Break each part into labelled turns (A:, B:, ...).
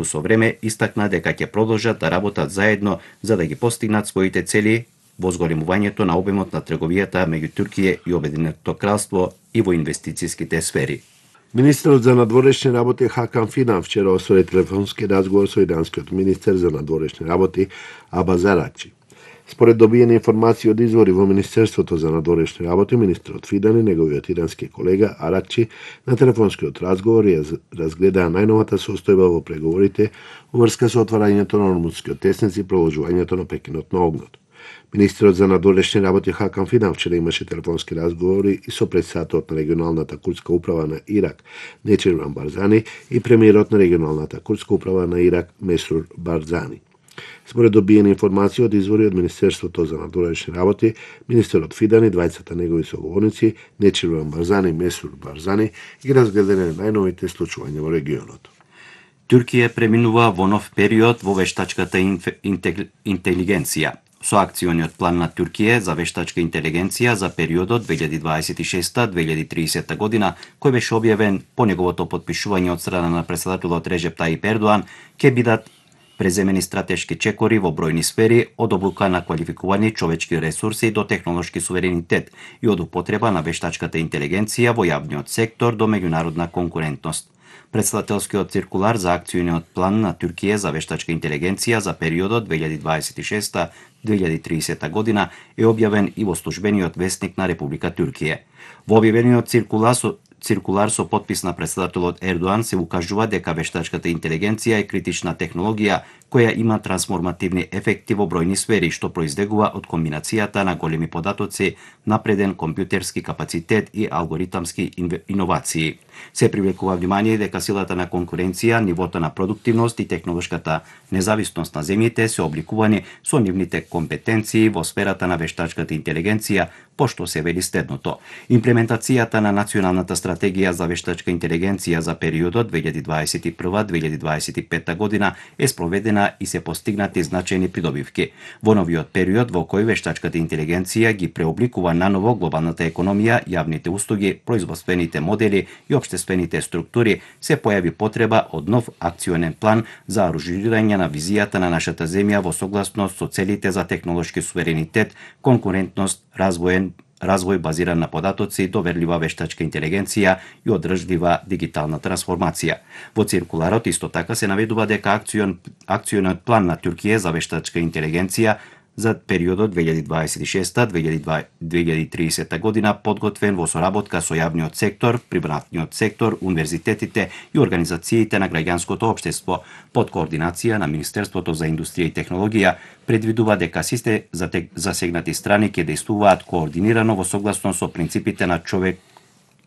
A: Со време истакна дека ќе продолжат да работат заедно за да ги постигнат своите цели во зголемувањето на обемот на трговијата меѓу Турција и Обединетото кралство и во инвестицијските сфери.
B: Министерот за надворешни работи Хакан Фидан вчера оствари телефонски разговор со иранскиот министер за надворешни работи Абаз Аракчи. Според добиени информации од извори во Министерството за надворешни работи, министерот Фидан и неговиот ирански колега Аракчи на телефонскиот разговор ја разгледаа најновата состојба во преговорите во врска со отварањето на Ормудскиот тесник и продолжувањето на прекинот на огнот. Министерот за надворешни работи Хакан Фидан вчера имаше телефонски разговори и со председателот на регионалната курдска управа на Ирак Нечирван Барзани и премиерот на регионалната курдска управа на Ирак Месрур Барзани. Според добиени информации од извори од Министерството за надворешни работи, министерот Фидан и двајцата негови соговорници Нечирван Барзани и Месрур Барзани ги разгледале најновите случувања во регионот.
A: Турција преминува во нов период во вештачката интелигенција. Со акциониот план на Турција за вештачка интелигенција за периодот 2026-2030 година, кој беше објавен по неговото потпишување од страна на председателот Режеп Тајип Ердоан, ќе бидат преземени стратешки чекори во бројни сфери, од обука на квалификувани човечки ресурси до технолошки суверенитет и од употреба на вештачката интелигенција во јавниот сектор до меѓународна конкурентност. Председателскиот циркулар за акциониот план на Турција за вештачка интелигенција за периодот 2026-2030 година е објавен и во службениот весник на Република Турција. Во објавениот циркулар со подпис на председателот Ердоан се укажува дека вештачката интелигенција е критична технологија која има трансформативни ефекти во бројни сфери, што произлегува од комбинацијата на големи податоци, напреден компјутерски капацитет и алгоритамски иновации. Се привлекува внимание дека силата на конкуренција, нивото на продуктивност и технолошката независност на земјите се обликувани со нивните компетенции во сферата на вештачката интелигенција, пошто се вели следното. Имплементацијата на националната стратегија за вештачка интелигенција за периодот 2021-2025 година е спроведена и се постигнати значајни придобивки. Во новиот период во кој вештачката интелигенција ги преобликува наново глобалната економија, јавните услуги, производствените модели и општествените структури, се појави потреба од нов акционен план за аранжирање на визијата на нашата земја во согласност со целите за технолошки суверенитет, конкурентност, развој базиран на податоци, доверлива вештачка интелигенција и одржлива дигитална трансформација. Во циркуларот исто така се наведува дека акционот план на Турција за вештачка интелигенција за периодот 2026-2030 година подготвен во соработка со јавниот сектор, приватниот сектор, универзитетите и организациите на граѓанското општество под координација на Министерството за индустрија и технологија, предвидува дека сите засегнати страни ќе действуваат координирано во согласност со принципите на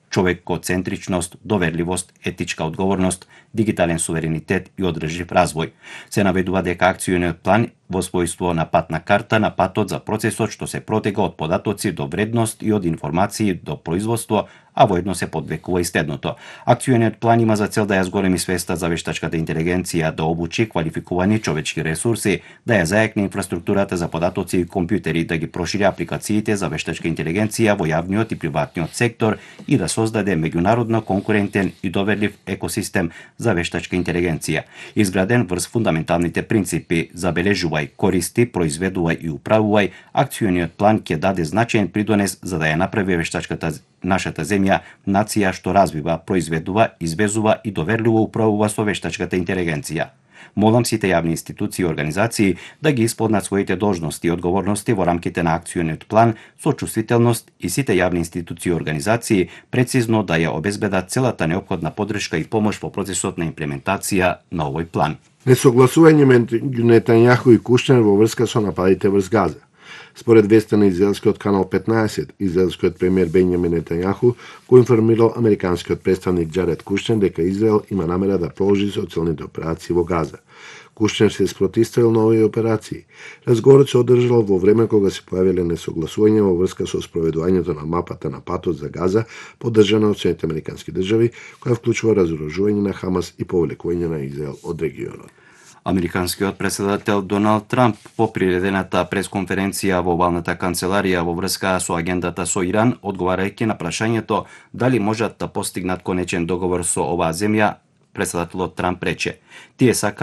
A: човекоцентричност, доверливост, етичка одговорност, дигитален суверенитет и одржлив развој. Се наведува дека акциониот план во својство на патна карта на патот за процесот што се протега од податоци до вредност и од информации до производство, а воедно се подвекува и следното. Акциониот план има за цел да ја зголеми свеста за вештачката интелигенција, да обучи квалификувани човечки ресурси, да ја заекне инфраструктурата за податоци и компјутери, да ги прошири апликациите за вештачка интелигенција во јавниот и приватниот сектор и да создаде меѓународно конкурентен и доверлив екосистем за вештачка интелигенција, изграден врз фундаменталните принципи забележувај, користи, произведувај и управувај. Акциониот план ќе даде значаен придонес за да ја направи вештачката нашата земја нација што развива, произведува, извезува и доверливо управува со вештачката интелигенција. Молам сите јавни институции и организации да ги исполнат своите должности и одговорности во рамките на акциониот план со чувствителност и сите јавни институции и организации прецизно да ја обезбедат целата неопходна поддршка и помош во процесот на имплементација на овој план.
B: Несогласување меѓу Нетањаху и Кушнер во врска со нападите врз Газа. Според веста на израелскиот канал 15, израелскиот премиер Бенјамин Нетањаху го информирал американскиот представник Џаред Кушнер дека Израел има намера да продолжи социјалните операции во Газа. Кушнер се спротивил на овие операции. Разговорот се одржал во време кога се појавиле несогласувања во врска со спроведувањето на мапата на патот за Газа, поддржана од Соединетите американски држави, која вклучува разоружување на Хамас и повлекување на Израел од регионот.
A: Американскиот председател Доналд Трамп по приредената пресконференција во овалната канцеларија во врска со агендата со Иран, одговарајќи на прашањето дали можат да постигнат конечен договор со оваа земја, Председателот Трамп рече: "Тие сакаат